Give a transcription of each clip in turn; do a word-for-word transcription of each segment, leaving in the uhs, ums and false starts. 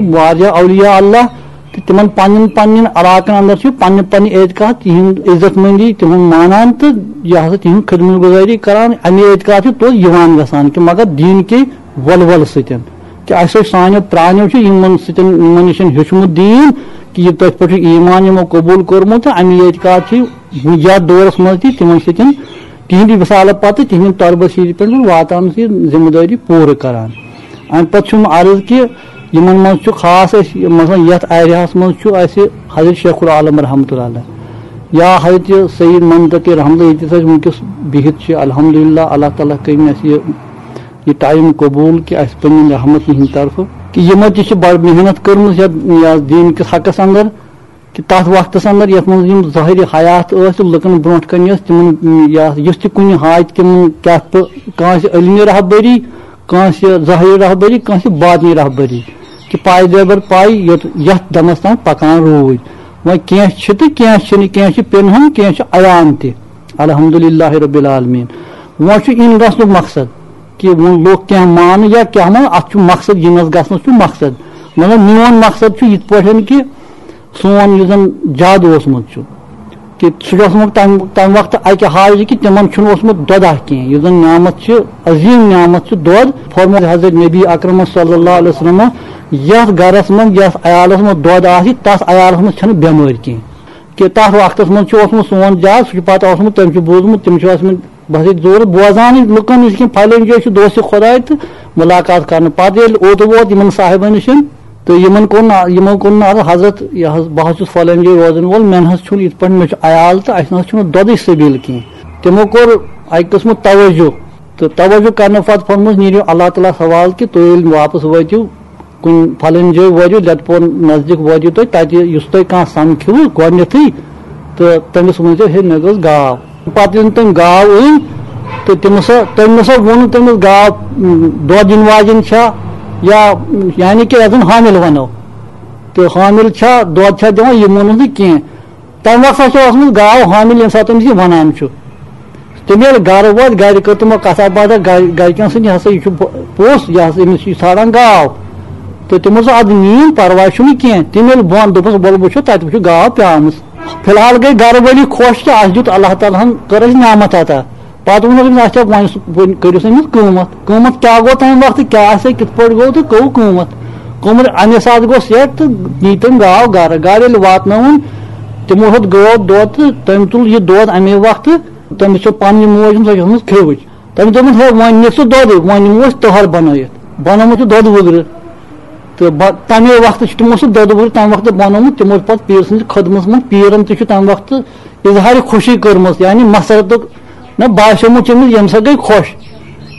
واریاہ اولیاء اللہ تہٕ تِمن پننٮ۪ن پننٮ۪ن علاقن اندر چھِ پننہِ پننہِ اعتقاد، تِہنٛد عزت مندی، تِہُنٛد مانان تہٕ یہِ ہسا تِہنٛز خدمت گزٲری کران۔ اَمہِ اعتقاد چھِ توٚت یِوان گژھان کہِ مگر دیٖن کے ولولہٕ سۭتۍ، کہِ اَسہِ ٲسۍ سانیو پرٛانیو چھِ یِمن سۭتۍ، یِمن نِش ہیوٚچھمُت دیٖن، کہِ یہِ تٔتھۍ پٮ۪ٹھ چھُ ایمان یِمو قبوٗل کوٚرمُت تہٕ اَمی اعتقاد چھِ یَتھ دورس منٛز تہِ تِمن سۭتۍ تِہنٛدِ وصالہٕ پتہٕ تِہنٛدِ طلبہٕ سۭتۍ پٮ۪ٹھ واتان چھِ یہِ ذمہٕ دٲری پوٗرٕ کران۔ اَمہِ پتہٕ چھُم عرض کہِ یِمن منٛز چھُ خاص اَسہِ، مثلاً یَتھ ایریاہَس منٛز چھُ اَسہِ حضرت شیخ العالم رحمتہ اللہ علیہ یا حضرت سید منطقی رحمتہ اللہ، ییٚتہِ أسۍ وٕنکیٚس بِہِتھ چھِ، الحمدللہ، اللہ تعالیٰ کٔرِنۍ اَسہِ یہِ، یہِ ٹایم قبوٗل کہِ اَسہِ پَنٕنۍ رحمت یِہِنٛدِ طرفہٕ، کہِ یِمو تہِ چھِ بَڑٕ محنت کٔرمٕژ یَتھ، یَتھ دیٖن کِس حقَس اَندر، کہِ تَتھ وقتَس اَندر یَتھ منٛز یِم ظٲہِرِ حیات ٲسۍ تہٕ لُکَن برونٛٹھ کَنہِ ٲسۍ، تِمَن، یَتھ، یُس تہِ کُنہِ حاجتہِ تِمَن کیٛاہ پہٕ-، کٲنٛسہِ علمی رہبری، کٲنٛسہِ ظٲہِری رہبری، کٲنٛسہِ باطنی رہبری، کہِ پایہِ دٲبر پایہِ یوٚت، یَتھ دَمَس تام پَکان روٗدۍ۔ وۄنۍ کینٛہہ چھِ تہٕ کینٛہہ چھِنہٕ، کینٛہہ چھِ پِنہَن، کینٛہہ چھِ عیان تہِ۔ الحمدللہ رب العالمین۔ وۄنۍ چھُ یِن گژھنُک مقصد کہِ وۄنۍ لوٚگ کینٛہہ مانہٕ یا کینٛہہ مانہٕ، اَتھ چھُ مقصد، یِنَس گژھنَس چھُ مقصد۔ مطلب، میون مقصد چھُ یِتھ پٲٹھۍ کہِ سون یُس زَن جَد اوسمُت چھُ، کہِ سُہ چھُ اوسمُت تَمہِ، تَمہِ وقتہٕ اَکہِ حاجہِ کہِ تِمَن چھُنہٕ اوسمُت دۄدہ کینٛہہ، یُس زَن نعمت چھِ، عظیٖم نعمت چھِ دۄد۔ فرموو حضرت نبی اکرم صلی اللہ علیہ وسلم، یَتھ گَرَس منٛز، یَتھ عیالَس منٛز دۄد آسہِ، تَتھ عیالَس منٛز چھَنہٕ بٮ۪مٲرۍ کینٛہہ۔ کہِ تَتھ وقتَس منٛز چھُ اوسمُت سون جَد، سُہ چھُ پَتہٕ اوسمُت، تٔمۍ چھُ بوٗزمُت، تِم چھِ ٲسمٕتۍ بس ییٚتہِ زورٕ بوزانٕے لُکن نِش کِنہٕ پھلٲنۍ جایہِ چھُ دوستِ خۄداے تہٕ مُلاقات کرنہٕ۔ پتہٕ ییٚلہِ اوٚت ووت یِمن صاحبن نِش تہٕ یِمن کوٚر نہٕ، یِمو کوٚر نہٕ عرض، حضرت، یہِ حظ، بہٕ حظ چھُس فلٲنۍ جایہِ روزن وول، مےٚ نہ حظ چھُنہٕ یِتھ پٲٹھۍ، مےٚ چھُ عیال تہٕ اَسہِ نہ حظ چھُنہٕ دۄدٕچ سبیٖل کینٛہہ۔ تِمو کوٚر اَکہِ قٕسمہٕ توجہ تہٕ توجہ کرنہٕ پتہٕ فرمووُس، نیٖرِو اللہ تعالیٰ ہس حوالہٕ کہِ تُہۍ ییٚلہِ واپس وٲتِو، کُنہِ فلٲنۍ جایہِ وٲتِو، لٮ۪تہٕ پور نزدیٖک وٲتِو تُہۍ، تَتہِ یُس تۄہہِ کانٛہہ سَمکھِوٕ گۄڈٕنٮ۪تھٕے، تہٕ تٔمِس ؤنۍزیو، "ہے، مےٚ گٔژھ گاو۔" پَتہٕ ییٚلہِ تٔمۍ گاو أنۍ، تہٕ تٔمِس سا، تٔمۍ نہ سا ووٚن نہٕ تٔمِس گاو، م، دۄد دِنہٕ واجٮ۪ن چھا، یا، یعنی کہِ یَتھ زَن حامِل وَنو، تہٕ حامِل چھا، دۄد چھا دِوان، یہِ ووٚنُس نہٕ کینٛہہ۔ تَمہِ وقتہٕ ہسا چھِ ٲسمٕژ گاو حامِل، ییٚمہِ ساتہٕ تٔمِس یہِ وَنان چھُ۔ تٔمۍ ییٚلہِ گَرٕ ووت، گَرِ کٔر تِمو کَتھا باتھا، گَرِ، گَرِکٮ۪ن سۭتۍ، "یہِ ہسا، یہِ چھُ پو-، پوٚژھ، یہِ ہسا، أمِس چھِ ژھانٛڈان گاو۔" تہٕ تِمو دوٚپ، "اَدٕ نِیِن، پَرواے چھُنہٕ کینٛہہ۔" تِم ییٚلہِ بۄن دوٚپُس، "وَلہٕ وٕچھو، تَتہِ وٕچھو گاو پیٛامٕژ۔" فی الحال گٔے گَرٕ وٲلی خۄش کہِ اَسہِ دیُت اللہ تعالیٰ ہَن، کٔر اَسہِ نعمت عطا۔ پَتہٕ ووٚنُکھ أمِس، "اچھا، وۄنۍ سُہ، وۄنۍ کٔرِو سا أمِس قۭمَتھ۔ قۭمَتھ کیٛاہ گوٚو تَمہِ وقتہٕ، کیٛاہ آسہِ، کِتھ پٲٹھۍ گوٚو تہٕ گوٚو قۭمَتھ؟" قۭمَتھ اَمے ساتہٕ گوٚو سٮ۪ٹ تہٕ نی تٔمۍ گاو گَرٕ۔ گَرٕ ییٚلہِ واتنٲوٕن، تِمو ہیوٚت گٲو دۄد تہٕ تٔمۍ تُل یہِ دۄد اَمے وقتہٕ۔ تٔمِس چھِ پننہِ موج، سۄ چھِ ٲسمٕژ کھیٚوٕج۔ تٔمۍ دوٚپُن، "ہے، وۄنۍ نِتھ ژٕ دۄدٕے، وۄنۍ نِمو أسۍ تٔہَر بَنٲیِتھ۔" بَنومُت چھُ دۄدٕ وُگرٕ۔ تہٕ بَ-، تَمے وقتہٕ چھُ تِمو سُہ دۄدٕ وُگرٕ تَمہِ وقتہٕ بَنومُت۔ تِمو چھُ پَتہٕ پیٖر سٕنٛزِ خدمَتَس منٛز، پیٖرَن تہِ چھُ تَمہِ وقتہٕ اظہارِ خوشی کٔرمٕژ، یعنی مسرتُک نہ باسیومُت چھُ أمِس، ییٚمہِ سۭتۍ گٔے خۄش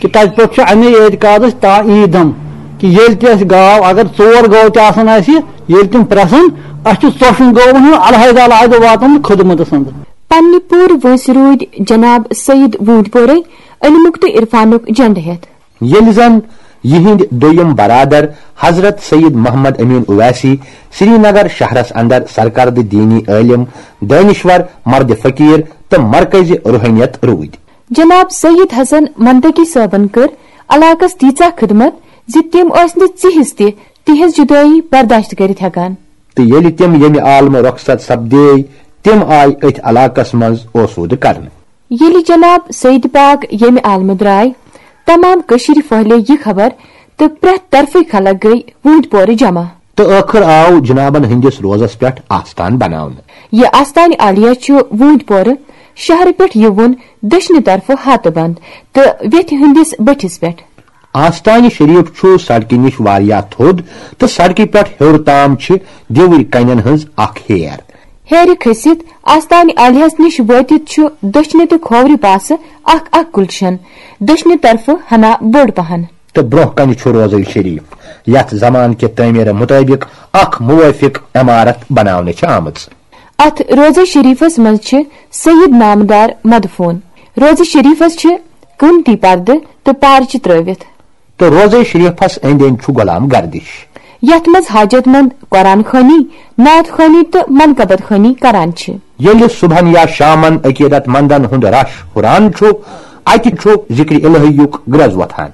کہِ تَتہِ پٮ۪ٹھ چھُ اَمے اعتقادَس تا عیٖدَم کہِ ییٚلہِ تہِ اَسہِ گاو، اگر ژور گٲو تہِ آسَن اَسہِ، ییٚلہِ تِم پرٛسَن، اَسہِ چھُ ژۄشَن گٲوَن ہُنٛد علیحدٕ علیحدٕ واتناوُن خدمتَس اندر۔ پننہِ پوٗرٕ وٲنٛسہِ روٗدۍ جناب سید ووٗنٛدۍ پورے علمُک تہٕ عرفانُک جنڈٕ ہٮ۪تھ۔ ییٚلہِ زن یِہنٛدۍ دوٚیِم برادر حضرت سید محمد امین اویسی سرینگر شہرس اندر سرکردٕ دینی عٲلم، دٲنشور، مرد فقیر تہٕ مرکزِ روحانیت روٗدۍ۔ جناب سید حسن منطقی صٲبن کٔر علاقس تیٖژاہ خدمت زِ تِم ٲسۍ نہٕ ژِہِس تہِ تِہنٛز جدٲیی برداشت کٔرِتھ ہٮ۪کان۔ تہٕ ییٚلہِ تِم ییٚمہِ عالمہٕ رۄخصت سپدے، تِم آیہِ أتھۍ علاقس منٛز اوسوٗدٕ کرنہٕ۔ ییٚلہِ جناب سید پاک ییٚمہِ عالمہٕ درٛاے، تمام کٔشیٖرِ پھٔہلے یہِ خبر تہٕ پرٛٮ۪تھ طرفٕکۍ خلق گٔے ووٗنٛدۍ پورٕ جمع۔ تہٕ ٲخٕر آو جنابن ہٕنٛدِس روزس پٮ۪ٹھ آستان بناونہٕ۔ یہِ آستانہِ عالیہ چھُ ووٗنٛدۍ پورٕ شہرٕ پٮ۪ٹھ یِوُن دٔچھنہِ طرفہٕ ہاتہٕ بند تہٕ ویتھِ ہٕنٛدِس بٔٹھِس پٮ۪ٹھ۔ آستانہِ شریف چھُ سڑکہِ نِش واریاہ تھوٚد تہٕ سڑکہِ پٮ۪ٹھ ہیوٚر تام چھِ دیوٕرۍ کنٮ۪ن ہٕنٛز اکھ ہیر۔ ہیرِ کھٔسِتھ آستانہِ عالیہس نِش وٲتِتھ چھُ دٔچھنہِ تہٕ کھوورِ پاسہٕ اکھ اکھ گُلشن، دٔچھنہِ طرفہٕ ہنا بٔڑ پہن۔ تہٕ برونٛہہ کنہِ چھُ روضہ شریف، یتھ زمانہٕ کہِ تعمیرٕ مطٲبق اکھ موٲفق عمارت بناونہٕ چھِ آمٕژ۔ اتھ روضہ شریفس منٛز چھِ سید نامدار مدفون۔ روضہ شریفس چھِ قۭمتی پردٕ تہٕ پارچہِ ترٲوِتھ۔ تہٕ روضہ شریفس أنٛدۍ أنٛدۍ چھُ غلام گردش۔ یتھ منٛز حاجت مند قرآن خوانی، نعت خوانی تہٕ منقبت خوانی کران چھِ۔ ییٚلہِ صبحن یا شامن عقیدت مندن ہُنٛد رش ہُران چھُ، اتہِ چھُ ذکر الہیُک گرٛز وۄتھان۔